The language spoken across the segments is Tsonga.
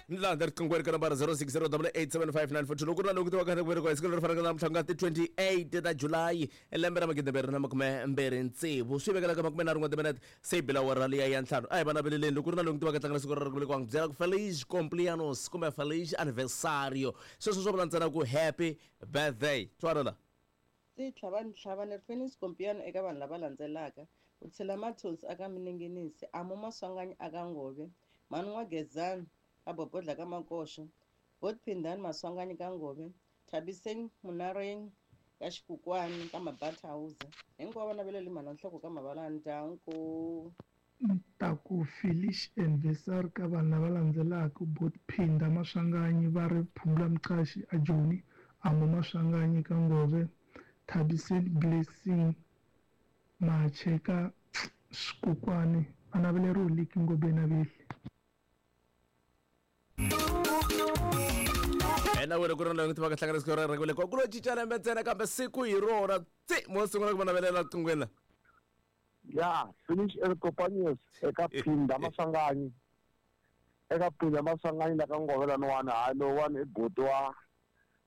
Ni laha riqingweni ka nambara 0608875942 loko ku ri na loku tiwaka ku velekiwa hi siku leri fanaka namuntlha ku nga ti 28 ta July lembe ra 2026 swi vekelaka 31 wa timinete se yi bela awara liya ya ntlhanu. A hi va naveleleni loko ku ri na loku tiwaka tlangela siku ra ku velekiwa n'wi byela ku feliz cumpleaños kumbe feliz aniversario. Sweswo swo vula ntsena ku happy birthday. Twana la. Ndzi tlhava ni tlhava ni ri feliz cumpleaños eka vanhu lava landzelaka. Ku tshila mathonsi aka Mininginisi, Amu Maswanganyi aka Ngove, Mhani N'wa-Gezani ka Bobodla ka Makoxo, Bot Phindani Maswanganyi ka Ngove, Thabiseng Munareng ka Xikukwani ka Mabathawuza. Hinkwavo va naveleli mhana nhloko ka mavala ndyangu. Ni ta ku feliz anniversary ka vanhu lava landzelaka, Bot Phinda Maswanganyi va ri Phumula Mqashi a Joni, Amu Maswanganyi ka Ngove, Thabiseni Blessing Mache ka Xikukwani, va naveleriwe Liki Ngobeni a Vehli. Ena wena ku ri na loyi tivaka hlangana siku ra ku ku lo cinca lembe ntsena kambe siku hi rona tsi mo sungula ku va navelela riqinghweni la. Ya, finish el Companions eka Phinda Maswanganyi. Eka Phinda Maswanganyi la ka Ngove laniwani, hayi lowuwani i buti wa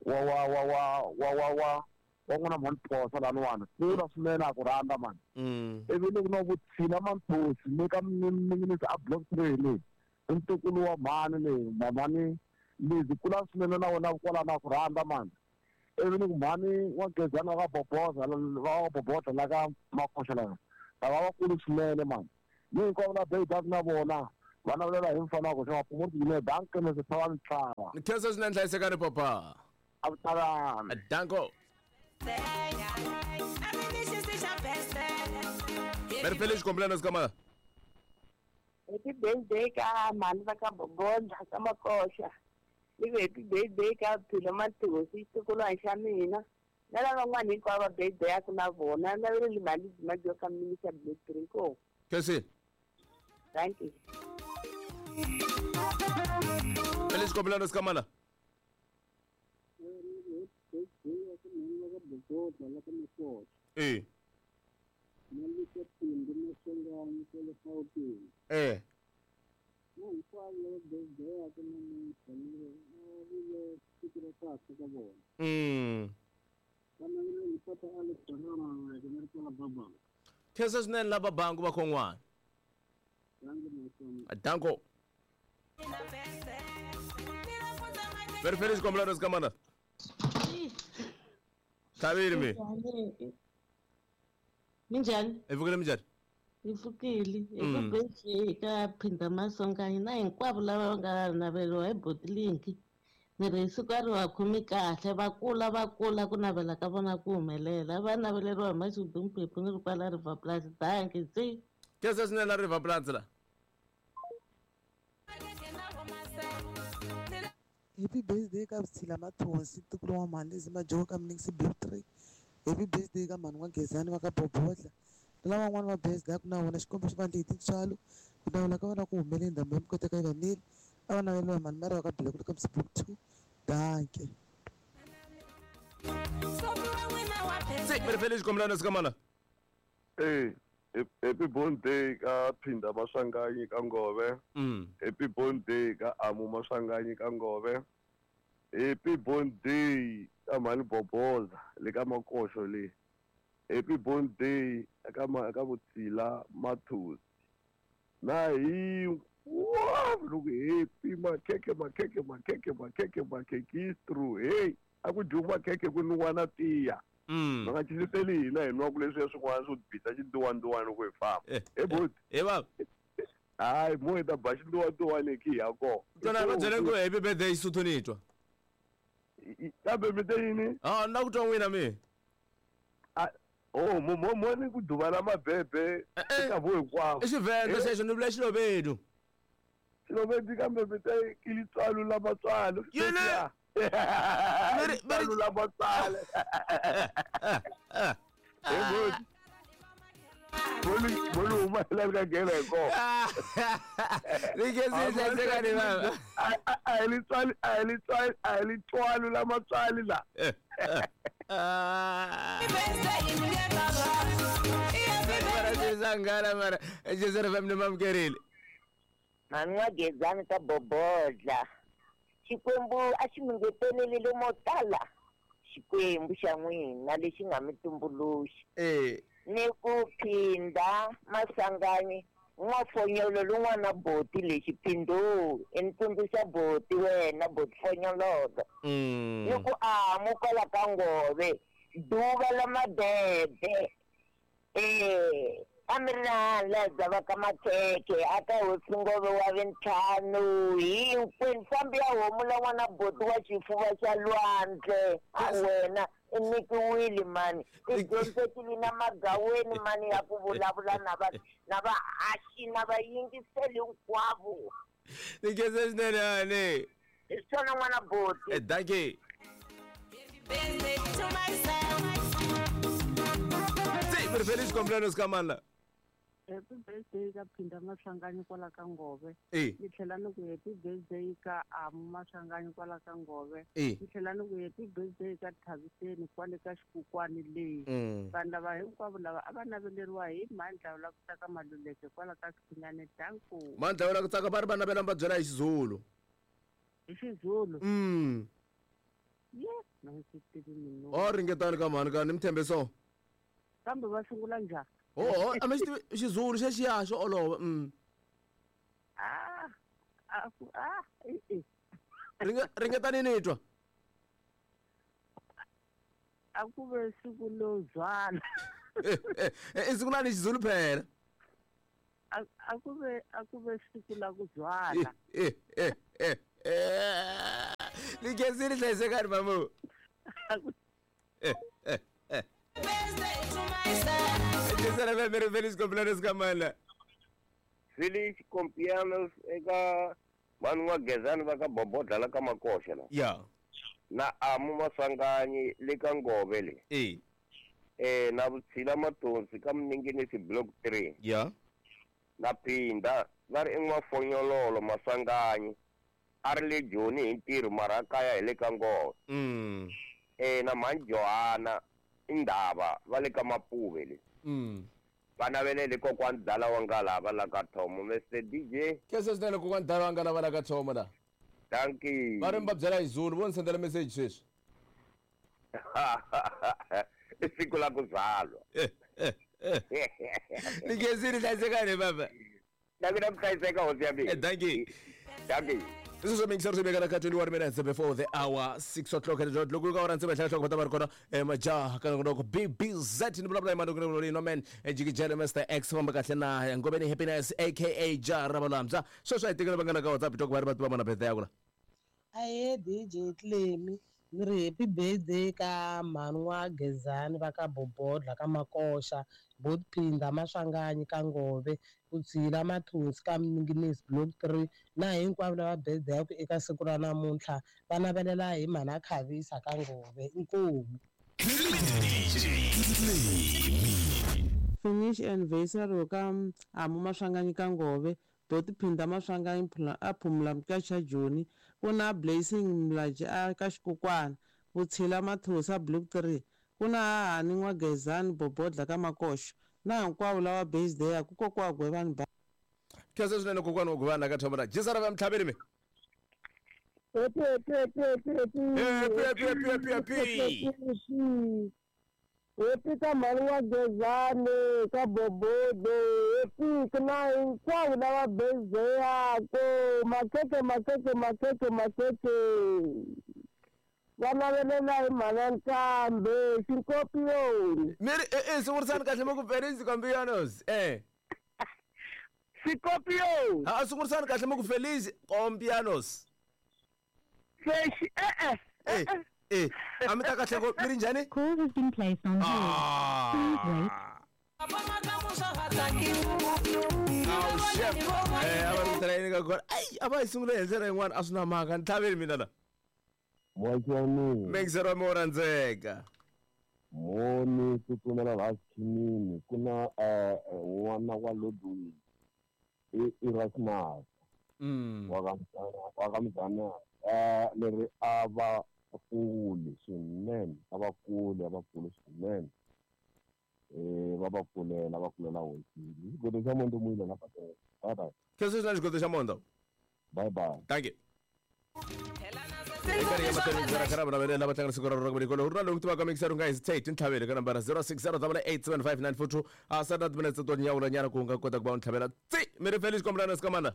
wa wa wa wa wa wa wa wa n'wana mhani Phosa laniwani. Kula swinene a ku rhandza mani. Ivi loko no vutshila Manthosi ni ka Minginisi a block 3 leyi. I ntukulu wa mhani leyi, mhamani Lizzy kula swinene na wena kwalano a ku rhandza mani. Ivi ni ku mhani wa Gezani wa ka Boboza wa ka Bobodla la ka Makoxa lava lava vakulu swinene mani. Ni hinkwavo la Beidaka na vona va navelela hi mfana wa koxa mapfumuri swinene danke mese tlhava ni tlhava. Ni khensa swinene hlayisekani papa. A ku talani. Danko. Very feliz cumpleaños kama. Happy birthday ka mhani va ka Bobodla ka Makoxa. Ni ku happy birthday ka Philo Mathosi xitukulwana xa mina. Na lavan'wana hinkwavo va birthday-aku na vona. Naveleli mhani Majoka ka Minister Black Three ko. Khensi. Thank you. Feliz cumpleaños kamala. Eh. Eh. Khensa swinene lava bangu va khon'wana. Danko. Very feliz cumpleaños kamala. Tlhavile mi. Minjhani? Hi pfukile minjhani? Hi pfukile. Hi ku birthday ka Phinda Maswanganyi na hinkwavo lava va nga naveriwa hi Botlink. Ni ri hi siku a ri va khomi kahle va kula va kula ku navela ka vona ku humelela. Va naveleriwa hi Mashudu Mphephu ni ri kwala River Plus. Danki tsi. Khensa swinene la River Plus la. Happy birthday ka Vutshila Mathonsi ntukulu wa mhani Lizzy Majoka ka Mniksi Blue 3. Happy birthday ka mhani N'wa-Gezani va ka Bobodla. Na lavan'wana va birthday-aku na vona Xikwembu xi va endle hi tintswalo. Ku navela ka vona ku humelele ndhambi ya mikoteka yi va neli. A va naveliwa hi mhani Mary va ka Bilekulu ka Mniksi Blue 2. Dankie. Se very feliz cumpleaños kamala. Eh, happy birthday ka Phinda Maswanganyi ka Ngove. Happy birthday ka Amu Maswanganyi ka Ngove. Happy birthday ka Mhani Boboza le ka Makoxo le. Happy birthday ka ka Vutshila Mathosi. Na hinkwavo loko happy makhekhe makhekhe makhekhe makhekhe makhekistru hey a ku dyiwi makhekhe ku nwiwa na tiya. Va nga cinceteli hina hi nwaku leswiya swin'wana swo bisa xinduwanduwani loko hi famba. He buti. He baba. Hayi mo hi ta ba xinduwanduwani hi khi hi ya kona. Twana va byele ku happy birthday Xisuthu ni twa. Kambe mi te yini? Ah, ni la ku twa n'wina mi. Oh, mo mo mo ni ku duva la mabebe eka vo hinkwavo. I Xivenda xexo ni vula Xilovedu. Xilovedu kambe mi te ki litswalo la matswalo. Yini? Litswalo la matswalo. He buti. Bolo huma la ka nghena hi kona. Ni khensi hlayisekani baba. A hi litswalo a hi litswalo a hi litswalo la matswalo la. Mara sangana mara Joseph FM ni mamukerile. Mhani N'wa-Gezani ka Bobodla. Xikwembu a xi mi ngeteleli mo tala. Xikwembu xa n'wina lexi nga mi tumbuluxi. Ni ku phinda Maswanganyi n'wafonyolo lun'wana boti lexi phindo i ni tsundzuxa boti wena boti fonyololo. Ni ku amu kwala ka Ngove duva la mabebe. A mi ri na la dzava ka makhekhe a ka hosi Ngove wa vintlhanu hinkwenu fambi ya homu la n'wana boti wa xifuva xa lwandle a wena i nyikiwile mani i dyondzekile na magaweni mani ya ku vulavula na va na vahaxi na vayingiseli hinkwavo. Ni khensa swinene hani. Hi swona n'wana boti. Dankie. Se Feliz cumpleaños ka mani la? Happy birthday ka Phinda Maswanganyi kwala ka Ngove. Ni tlhela ni ku happy birthday ka Amu Maswanganyi kwala ka Ngove. Ni tlhela ni ku happy birthday ka Thaviseni kwale ka Xikukwani leyi. Vanhu lava hinkwavo lava a va naveleriwa hi Mandla la ku tsaka Maluleke kwala ka Xinyane. Danko. Mandla la ku tsaka va ri va navela va byela hi Xizulu. Hi Xizulu. Ye, na ndzi tivi mina. O ringetani ka mhani ka ni mi tshembe so. Kambe va sungula njhani? Oh, a mi xi tivi Xizulu xexiya xo olova. Ringetani ni twa. A ku ve siku lo zwala. I siku lani Xizulu phela. A ku ve siku la ku zwala. Ni khensile hlayisekani mamu. Feliz cumpleaños ka mani. Feliz cumpleaños eka vanhu va Gezani va ka Bobodla la ka Makoxa la. Ya. Na Amu Maswanganyi le ka Ngove le. Na Vutshila Matonsi ka Mninginisi block 3. Ya. Na Phinda va ri en'wafonyololo Maswanganyi a ri le Joni hi ntirho mara kaya hi le ka Ngove. Na mhani Johana Indaba va le ka Mapuve le. Va navelele kokwani Dala wa Ngalava la ka Thomo. Mr DJ. Khensa swinene kokwani Dala wa Ngalava la ka Thomo la. Dankie. Va ri mi va byela hi Zulu vo ni sendela message sweswi. I siku la ku zalwa. Ni khensile hlayisekani baba. Na mina ku hlayiseka hosi ya mina. Dankie. Dankie. This is Mixer Rebecca ka 21 minutes before the hour 6 o'clock and loko ka ora ntse hlaya hloko va ri kona majaha ka loko BBZ ni vulavula hi mani ku no man jikijele Mr X famba kahle na Ngobeni Happiness aka Jara Balambza sweswi a hi tekela vangana ka WhatsApp talk va ri va tiva mana birthday ya ku la. Ahe DJ Clemi ni ri happy birthday ka mhani wa Gezani va ka Bobodla ka Makoxa, bot Phinda Maswanganyi ka Ngove, Vutshila Mathonsi ka Mninginisi block 3 na hinkwavo lava birthday ya ku eka siku ra namuntlha va navelela hi mhana Khavisa ka Ngove. Inkomu. Finish anniversary ka Amu Maswanganyi ka Ngove, Doti Phinda Maswanganyi a Phumula Mkaxa Joni, ku na Blessing Mlaji a ka Xikukwana, Vutshila Mathosa block 3, ku na Hahani N'wa-Gezani Bobodla ka Makoxa na hinkwavo lava birthday ya ku kokwa Gwevani ba. Khensa swinene kokwana wa Gwevani la ka Thomo la. Jisara va Mtlhaveni mi. Happy happy happy happy happy. Happy happy happy happy happy. Happy ka mhani wa Gezani ka Bobodo, happy na hinkwavo lava birthday yako. Makhekhe makhekhe makhekhe makhekhe. Va navelela hi mhana Nkambe Xikopioni. Mi ri sungurisani kahle mi ku Feliz cumpleaños. Xikopioni. Ha sungurisani kahle mi ku Feliz cumpleaños. Fexi A mi ta kahle ko mi ri njhani? Call has been placed on hold. Please wait. A va ri yini ka kona. Ai a va hi sungule hi ndlela yin'wana a swi na mhaka ni tlhaveli mina la. Moya wa mina. Mixer wa mi wo rhandzeka. Moni tsutsumela laha xikhinini ku na n'wana wa Ludwig i Erasmus wa ka Mzanani leri a va kule swinene a va kule swinene va va kulela hosi. Xigodo xa Mondo muyile la bye bye. Khensa swinene xigodo xa Mondo. Bye bye. Thank you. Eka ya mahlweni ndzi ra kha va lava tlanga siku ra rona ku ri na lowu tivaka mixer u nga hesitate ntlhavelo ka nambara 0608875942 a sa na timinetse to nyawula nyana ku nga kota ku va u ntlhavela tsi mi ri Felix kombelana sikamana.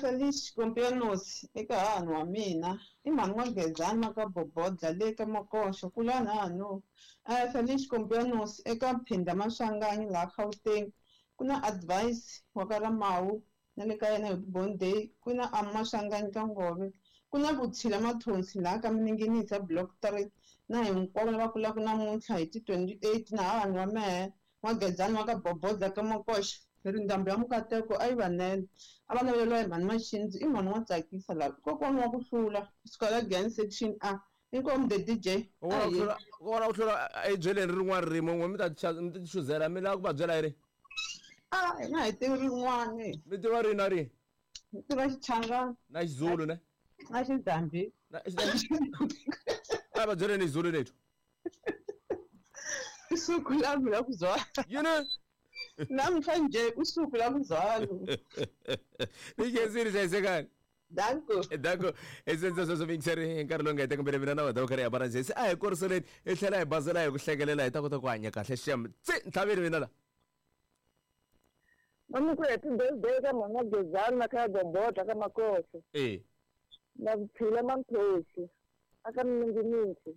Felix Kompianos eka hahani wa mina i mhani wa Gezani ka Bobodla le ka Makoxo kulani hahani. Felix Kompianos eka Phinda Maswanganyi laha Gauteng ku na Advice wa ka Ramawu na le ka yena Happy Born Day, ku na Amaswanganyi ka Ngove, ku na Vutshila Mathonsi laha ka Mininginisa Block 3 na hinkwavo lava kulaka namuntlha hi ti 28 na hahani wa mehe N'wa-Gezani wa ka Bobodla ka Makoxa. Ri ndhambi ya Mukateko a yi va nele. A va naveleriwa hi mhani Maxindzi, i mhani wa tsakisa lava. I kokwani wa ku hlula, kusuka la Giyani Section A. Inkomu the DJ. Kokwana ku hlula, kokwana ku hlula a hi byeleni rin'wana ririmi n'we mi ta mi ta chuzela mi lava ku va byela hi ri. A hina hi tivi rin'wana. Mi tiva rini na rini? Hi tiva Xichangani. Na Xizulu ne? Na Xizambi. Na a va byeleni Xizulu lethu. Usuku lami lakuzalwa. Yini? Namhlanje usuku lakuzalwa. Ni khensile hlayisekani. Danko. Danko. Esenza sweswo mixer hi nkarhi lowu nga heta kumbe mina na vada karhi hambana njhe. Se a hi koriseleni hi tlhela hi bazela hi ku hlekelela hi ta kota ku hanya kahle xem. Tsi ntlhaveni mina la. Mami ku happy birthday ka mhana Gezani na kha Gombodla ka Makosi. Eh. Na Vuphila Mamphosi aka Mininginisi.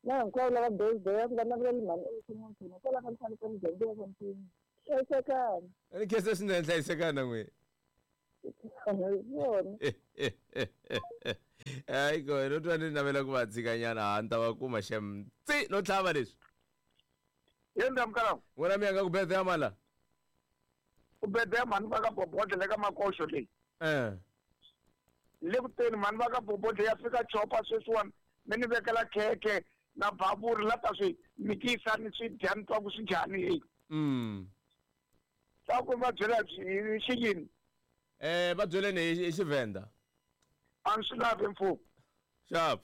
Na hinkwavo lava birthday va navelela mhani evuton'wini hikwalaho ka mfanelo ka muganga wa Mpini. Hlayisekani. Ni khensa swinene hlayisekani na n'wina. Swona. Hayi ko no twa ni navela ku va tshikanyana ha ni ta va kuma xem. Tsi no tlhava leswi. Yendla mkalawu. N'wina mi yanga ku birthday ya mani la? Ku birthday ya mhani va ka Bobodla le ka Makoxo leyi. Eh. Le ku teni mhani va ka Bobodla ya fika chopa sweswiwani mi ni vekela khekhe na bavuri la ta swi mikisa ni swi dya ni twa ku swi njhani heyi. Swa ku va byela hi xiyini? Eh va byeleni hi Xivhenda. A ni swi lavi mfumo. Xap.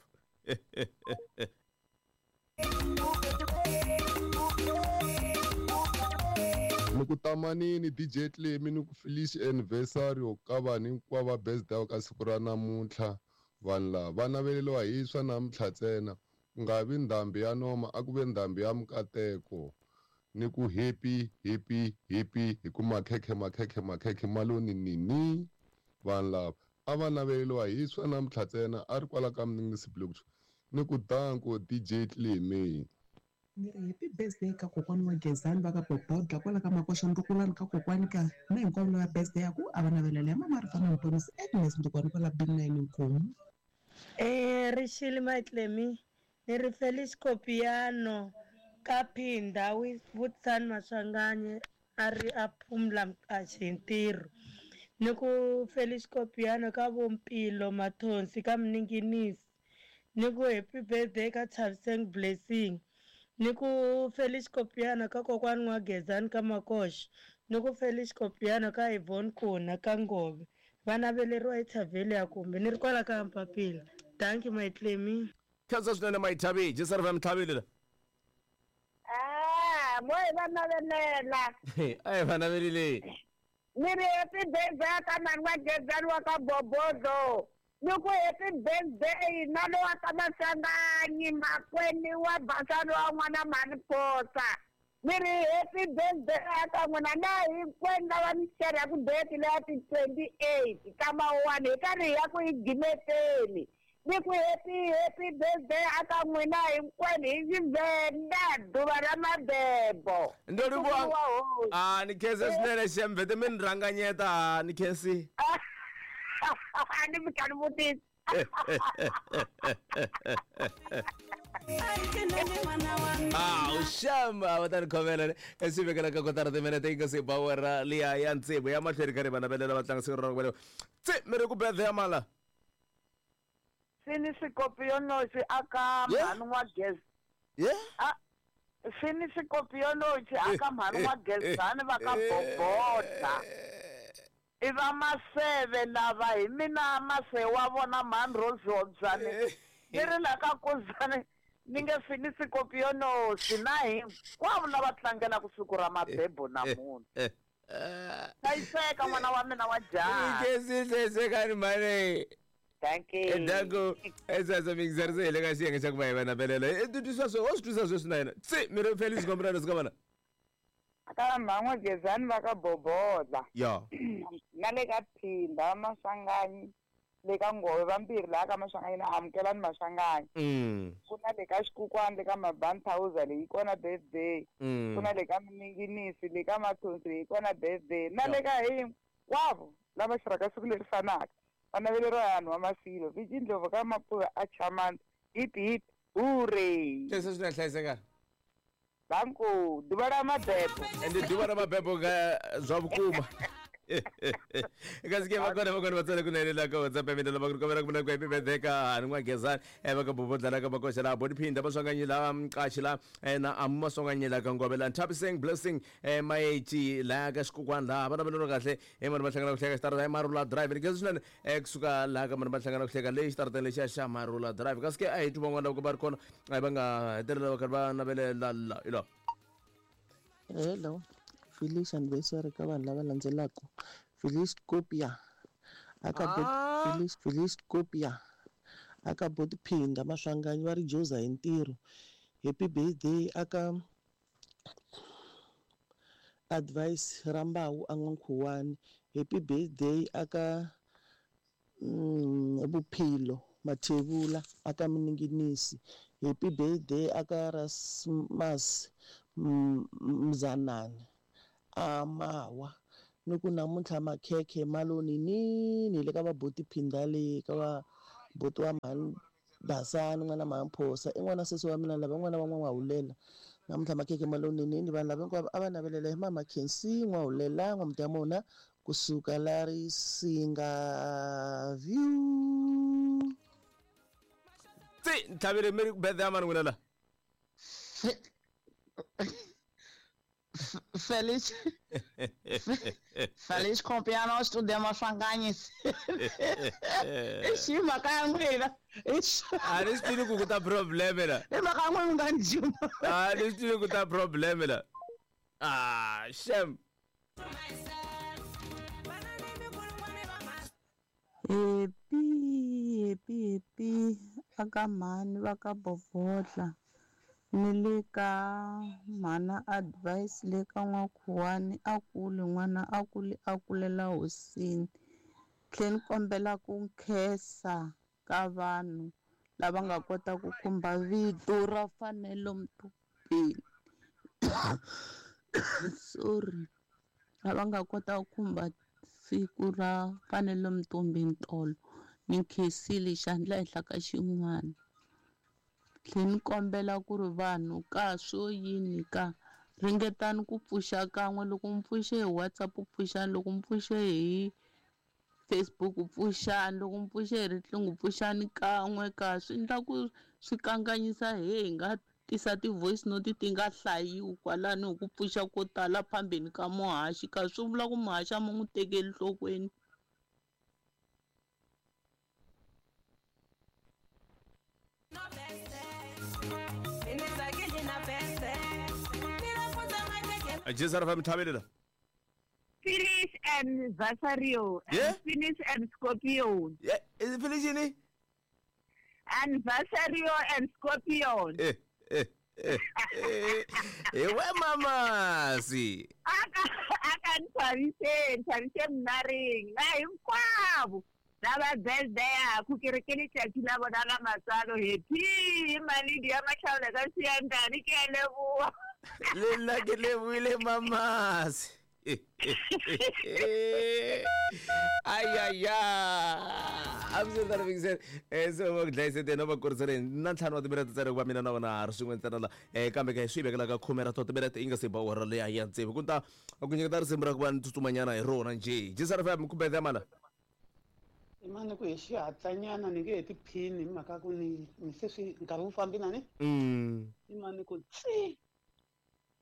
Ni ku tamanini DJ Clemy ni ku felice anniversary ka vanhu hinkwavo va birthday ka siku ra namuntlha. Vanhu lava va naveleriwa hi swa namuntlha ntsena, ku nga vi ndhambi ya noma a ku ve ndhambi ya mikateko. Ni ku happy happy happy hi ku makhekhe makhekhe makhekhe ma lo ni ni ni. Vanhu lava a va naveleriwa hi swa namuntlha ntsena a ri kwala ka Mninginisi Block ni ku danko DJ Clemy. Ni ri happy birthday ka kokwani wa Gezani va ka Bobodla kwala ka Makoxa ndukulani ka kokwani ka na hinkwavo lava birthday ya ku a va navelela ya mama Rifana Mponisi Agnes Ndukwani kwala B9 Nkomu. Rixile my Clemy ni ri Felix Kopiano ka Phinda Vutisani Maswanganyi a ri a phumla Mqashi hi ntirho ni ku Felix Kopiano ka Vompilo Mathonsi ka Mninginisi ni ku happy birthday ka Thabiseng Blessing ni ku Felix Kopiano ka kokwani N'wa Gezani ka Makoxa ni ku Felix Kopiano ka Yvonne Kuna ka Ngove va naveleriwa hi Thaveli ya kumbe ni ri kwala ka Mpapila. Thank you my Clemy. Khensa swinene my Thabi, Jisar va Mthaveli la. Ah, mo hi va navelela. A hi va navelile. Ni ri happy birthday ka mhani wa Gezani wa ka Bobodlo. Ni ku happy birthday na lowa ka Maswanganyi makwenu wa Basani wa n'wana mhani Phosa. Ni ri happy birthday ka n'wina na hinkwenu lava mi xerhaku date leya ti 28 ka Mawuwani hi karhi hi ya ku yi gimeteni. Ni ku happy happy birthday aka n'wina hinkwenu hi Xivenda duva ra mabebo. Ndo livhuwa. Ah ni khensa swinene xemvete mi ni rhanganyeta ni khensi. A ni mi ni vutisa. Ah, ushamba va ta ni khomela swi vekela ka kotara timinete yi nga se ba wera liya ya ntsevu ya mahlweni ka ri va navelela va tlanga siku ra ku tsi mi ri ku birthday ya mala. Sini Sikopiyonosi aka mhani wa Gez. Yeah. Sini Sikopiyonosi aka mhani wa Gezani va ka Bobodla. I va Maseve lava hi mina Maseve wa vona mhani Rose Hobyane. Ni ri la ka Kuzani ni nge Sini Sikopiyonosi na hinkwavo lava tlangelaka siku ra mabebo namuntlha. Hlayiseka n'wana wa mina wa jaha. Ni khensi hlayisekani mhani. Dankie. Danko esasa mixer se hi le ka xiyenge xa ku va hi va navelela. I twisisa swe, wa swi twisisa sweswi na yena. Se mi ri Felice Gombrano sika vana. Ka mhan'wa Gezani va ka Bobodla. Ya. Na le ka Phinda Maswanganyi le ka Ngove vambirhi laha ka Maswanganyi na Amukelani Maswanganyi. Ku na le ka Xikukwani le ka Mabanthauza leyi kona birthday. Ku na le ka Mininginisi le ka Mathonsi leyi kona birthday. Na le ka hinkwavo lava xirhaka siku leri fanaka. Va naveleriwa hi vanhu va Masilo. Viji Ndlovu ka Mapuve a Chamani. Hip hip hooray. Leswi swi na hlayiseka. Danko ḓuvha la mabebo. Ende ḓuvha la mabebo nga zwa vhukuma. Kasi ke va kona va kona va tsale ku nalela ka WhatsApp ya mina lava ku kombela ku vula ku happy birthday ka Hani N'wa-Gezani va ka Bobodla la ka Makoxa la Bodi Phinda va Swanganyi la Mqashi la na Amu Maswanganyi la ka Ngove la Nthabiseng Blessing Maetsi la ka Xikukwani la va naveleriwa kahle e vanhu va hlangana ku hleka xitarata Marula Drive ni khensa swinene kusuka laha ka vanhu va hlangana ku hleka leyi xitarateni lexiya xa Marula Drive kasi ke a hi twi van'wana loko va ri kona va nga hetelela va karhi va navelela la ilo. Hello, Felice anniversary ka vanhu lava landzelaka. Felice Copia aka bot Felice Felice Copia aka bot Phinda Maswanganyi va ri Joza hi ntirho. Happy birthday aka Advice Rambawu a N'wankhuwani. Happy birthday aka Vuphilo Mathebula aka Mininginisi. Happy birthday aka Rasmus Mzanani a Mawa. Ni ku namuntlha makhekhe ma lo ninini le ka va boti Phinda le ka va boti wa mhani Basani n'wana mhani Phosa i n'wana sesi wa mina lava n'wana wa N'wahulela namuntlha makhekhe ma lo ninini vanhu lava hinkwavo a va navelela hi mama Khensi N'wahulela N'wamudamona kusuka la Risinga View. Tsi ntlhavile mi ri ku birthday ya mani n'wina la? Feliz Feliz cumpleaños to them Maswanganyi. I xi mhaka ya n'wina. A ni swi tivi ku ku ta problem la. I mhaka ya n'wina mi nga ni juma. A ni swi tivi ku ta problem la. Ah, shem. Happy happy happy aka mhani va ka Bobodla ni le ka mhana Advice le ka N'wakhuwani a kule n'wana a kule a kulela hosini tlhe ni kombela ku nkhensa ka vanhu lava nga kota ku khumba vito ra Fanelo Mthombeni sorry lava nga kota ku khumba siku ra Fanelo Mthombeni tolo ni nkhensile xandla ehenhla ka xin'wana tlhe ni kombela ku ri vanhu ka swo yini ka ringetani ku pfuxa kan'we loko mi pfuxe hi WhatsApp pfuxani loko mi pfuxe hi Facebook pfuxani loko mi pfuxe hi riqingho pfuxani kan'we ka swi endla ku swi kanganyisa he hi nga tisa ti-voice note ti nga hlayiwi kwalano hi ku pfuxa ko tala phambeni ka muhaxi ka swi vula ku muhaxi a mi n'wi tekeli nhlokweni. Jesu ra fa mithabelela. Finish and Vasario. Yeah? Finish and Scorpion. Yeah, is it finish ini? And Vasario and Scorpion. Eh, eh, eh. Eh, we mamasi. Aka aka nthabiseng, nthabiseng mnareng. Na hinkwavo. Lava birthday yaku ke re ke letšatši la bona la matswalo happy maledi ya matlhaola ka seyantane ke a leboa. Le nna ke leboile mamasi. Ayaya a swi ri se va ku dlayisete no va kuriseleni na ntlhanu wa timinete ntsena ku va mina na vona ha ri swin'we ntsena la kambe ke swi vekela ka khume ra to timinete yi nga se ba awara leya ya tsevu ku ta ku nyiketa risimu ra ku va ni tsutsumanyana hi rona njhe jisara fm ku birthday mana Imani ku hi xihatlanyana ni nge he tiphini hi mhaka ku ni ni se swi nkarhi wu fambi na ni imani ku tsi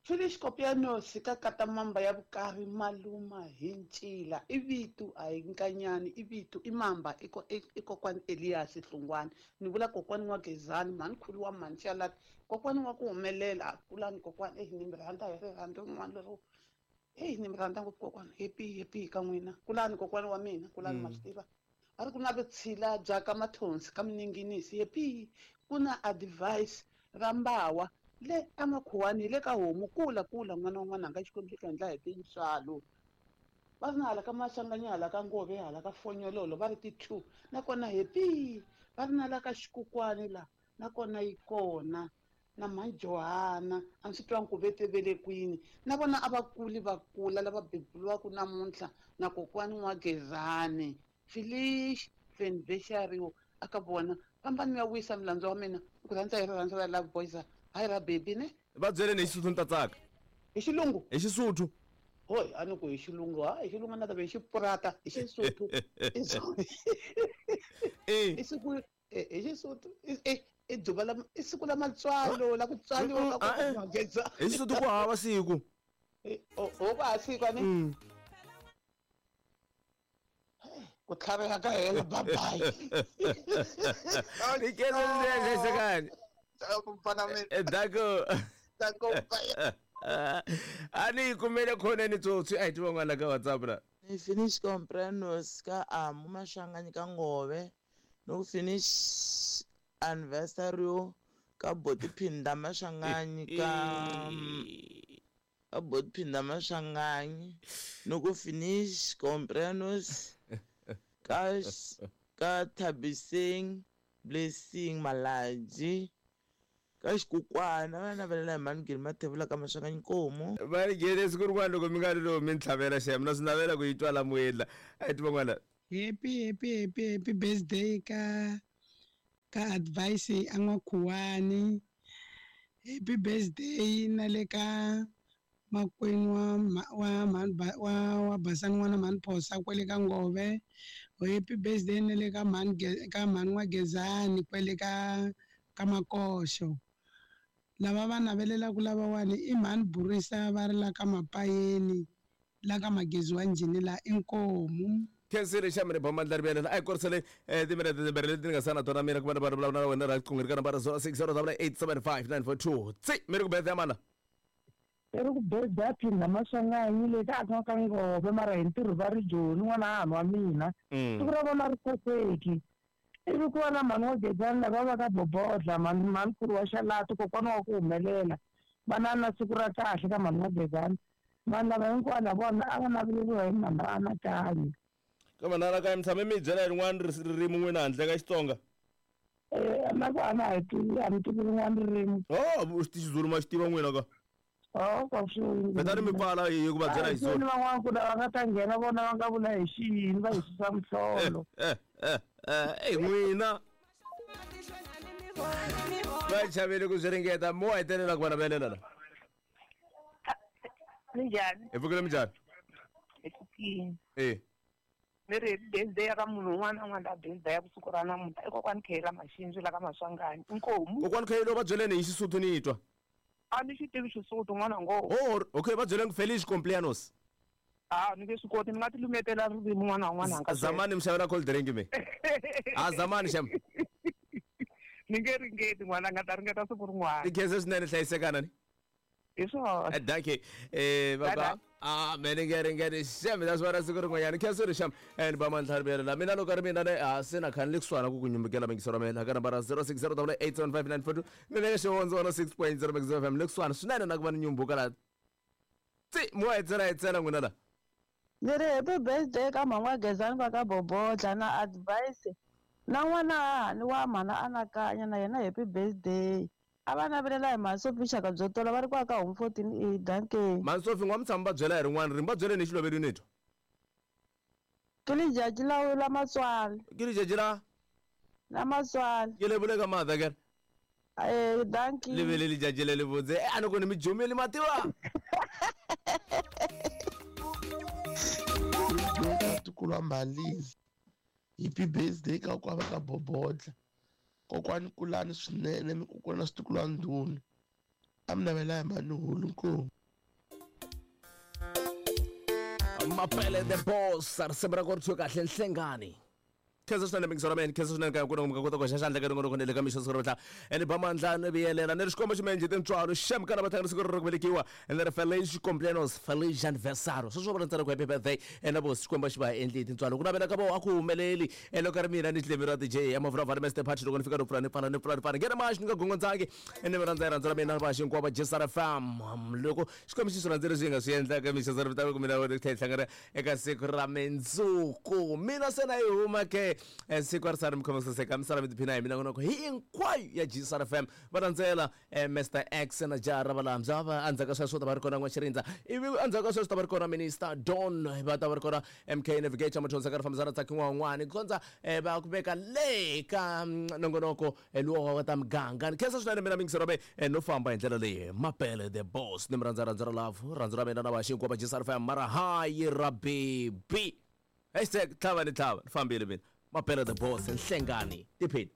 Finish Kopianos ka kata mamba ya vukari maluma hi ncila i vito a hi nkanyani i vito i mamba i i kokwani Elias Hlungwani ni vula kokwani wa Gezani mhani khulu wa mhani Xalati kokwani wa ku humelela a kulani kokwani eyi ni mi rhandza hi rirhandzu rin'wana lero eyi ni mi rhandza ngopfu kokwani happy happy ka n'wina kulani kokwani wa mina kulani ma swi tiva. Va ri ku na vutshila bya ka Mathonsi ka Mininginisi happy ku na advice ra Mbawa le ka Makhuwani le ka Homu kula kula n'wana wa n'wananga Xikwembu xi ta endla hi tintswalo. Va ri na hala ka Maswanganyi hala ka Ngove hala ka Fonyololo va ri ti 2 nakona happy va ri na la ka Xikukwani la nakona yi kona na Mhani a ni swi twangi ku ve te ve le kwini na vona a va kuli va kula lava beburiwaka namuntlha na kokwani N'wagezani Felice anniversary aka vona fambani mi ya wisa milandzu wa mina ku rhandza hi rirhandzu ra love boys hayi ra baby ne va byeleni hi Xisuthu ni ta tsaka hi xilungu hi Xisuthu hoy a ni ku hi xilungu ha hi xilungu na ta ve hi xipurata hi Xisuthu i siku hi Xisuthu i dzuva la i siku la matswalo la ku tswaliwa ka ku N'wageza hi Xisuthu ku hava siku o ku hava siku ani ku tlhavela ka hela bye bye hlayisekani dako dako a ni yi kumele khoneni tsotsi a hi tiva n'wana ka WhatsApp la ni finish comprenos ka Amu Maswanganyi ka Ngove no finish anniversary ka Boti Phinda Maswanganyi ka Boti Phinda Maswanganyi no ku finish comprenos ka Thabiseng Blessing Malaji ka Xikukwana va navelela hi Mhani Mathevula ka Maswanganyi Nkomo va ri gele siku rin'wana loko mi nga ri lowu mi ni tlhavela xem na swi navela ku yi twa la moyeni la a hi tiva n'wana happy happy happy happy birthday ka advice a N'wakhuwani happy birthday na le ka makwenu wa Basani n'wana Mhani Phosa kwele ka Ngove happy birthday na le ka Mhani ka Mhani N'wagezani kwele ka Makoxo lava va navelelaka lavawani i Mhani Burisa va ri la ka Mapayeni la ka Magezi wa Njhini la Inkomu khensile xa mina bomandla rivelela a hi korisele timinete timbirhi leti ni nga sana tona mina ku va ni va vulavula na wena ra riqingho ri ka nambara 0608875942 tsi mi ri ku birthday ya mana i ri ku birthday ya Phinda Maswanganyi le ka aka ka Ngove mara hi ntirho va ri Joni n'wana hahani wa mina siku ra vona ri koseki ivi ku va na Mhani N'wagezani lava va ka Bobodla Mhani wa Xalati kokwana wa ku humelela va na siku ra kahle ka Mhani N'wagezani vanhu lava hinkwavo na vona a va naveleriwa hi Mhani Anakanyi ka Mhani Anakanyi mi tshame mi byela hi rin'wana ririmi n'wina handle ka Xitsonga na ku a na ha tivi a ni tivi rin'wana ririmi o Xizulu ma xi tiva n'wina ka vetani mi pfala hi ku va byela hi Xizulu van'wana ku lava nga ta nghena vona va nga vula hi xiyini va hi susa mihlolo ey n'wina va chavele ku swi ringeta mo hetelela ku va navelela la Minjhani hi pfukile minjhani hi pfukile e ni ri birthday ya ka munhu un'wana na un'wana la birthday ya vusiku ra namuntlha i kokwani Khayela Maxinzi la ka Maswanganyi Inkomu kokwani Khayela va byeleni hi Xisuthu ni twa a ni xi tivi Xisuthu n'wana ngo oh okay va byeleni Felice Complianos a ni nge swi koti ni nga ti lumetela ririmi n'wana wa n'wana anga zamani mi xavela cold drink me a zamani xem ni nge ringeti n'wana nga ta ringeta siku rin'wana ni khensa swinene hlayisekana ni hi swona dankie baba a me ni nge ringeti xem ta swi vona siku rin'wanyana khensa ri xem ni ba mandlha rivelela mina loko ri mina ne a se na khani le kusuhana ku ku nyumbukela mingisero mina ka nambara 0608875942 ni le ka Xivondzo 106.0 Mix FM le kusuhana swinene na ku va ni nyumbuka la tsi mo hetsela n'wina la ni ri happy birthday ka Mhani N'wagezani va ka Bobodla na advice na n'wana hahani wa Mhani Anakanya na yena happy birthday a va navelela hi Mhani Sophie Xaka byo tola va ri kwa ka Home 14 A danke Mhani Sophie n'wa mi tshama va byela hi rin'wana ririmi va byeleni hi xiloveli ni twa ke lijaji la matswalo ke lijaji la matswalo ke le bule ka mother ke dankie le vele lijaji le le botse a ni ku ni mi jumeli mativa Tikulwa Malizi happy birthday ka kwava ka Bobodla kokwani kulani swinene mi ku na switukulwa ndhuna a mi navela hi Mhani Hulu Nkomu Mapele the boss risimu ra ku ri kahle Nhlengani. Khensa swinene mingiso ra mina, khensa swinene ka ku mi nga kota ku hoxa xandla ka nongonoko ni le ka mixo siku ra namuntlha. Ene ba mandla ni vuyelela ni ri xikombo ximenje tintswalo xem kana va tlangela siku ra ku velekiwa ene ri Feliz cumpleaños, Feliz anniversario. Sweswo vula ntsena ku happy birthday ene vo Xikwembu xi va endli hi tintswalo. Ku navela ka vo a ku humeleli ene loko ri mina ni tlemi ra DJ ya Mavura Mr Party loko ni fika ni pfula ni pfala ni pfula ni pfala ngene maxi ni nga gongondzangi ene mi rhandza rhandza ra mina va hinkwavo va Jesara Fam. Loko Xikwembu xi swi rhandzile leswi hi nga swi endlaka mixo siku ra ku mina tlhela hi hlangana eka siku ra mindzuku. Mina se na yi huma ke siku a ri sari mi khoma saseka mi sala mi tiphina hi minongonoko hinkwayo ya Jesara Fam. Va landzela Mr X na jaha ra Valambya va endzhaku ka sweswo ta va ri kona N'waxirindza ivi endzhaku ka sweswo ta va ri kona Minister Don va ta va ri kona MK Navigator Mathonsi ka ri fambisana Tsaki N'wan'wani ku kondza va ku veka le ka nongonoko luwa wa ta muganga. Ni khensa swinene mina mingisero me no famba hi ndlela leyi Mapele the boss ni mi rhandza rhandzu ra love rhandzu ra mina na vaxi hinkwavo va Jesar Fam mara hayi ra baby hashtag tlhava ni tlhava ni fambile mina Mapele the boss nhlengani tiphini.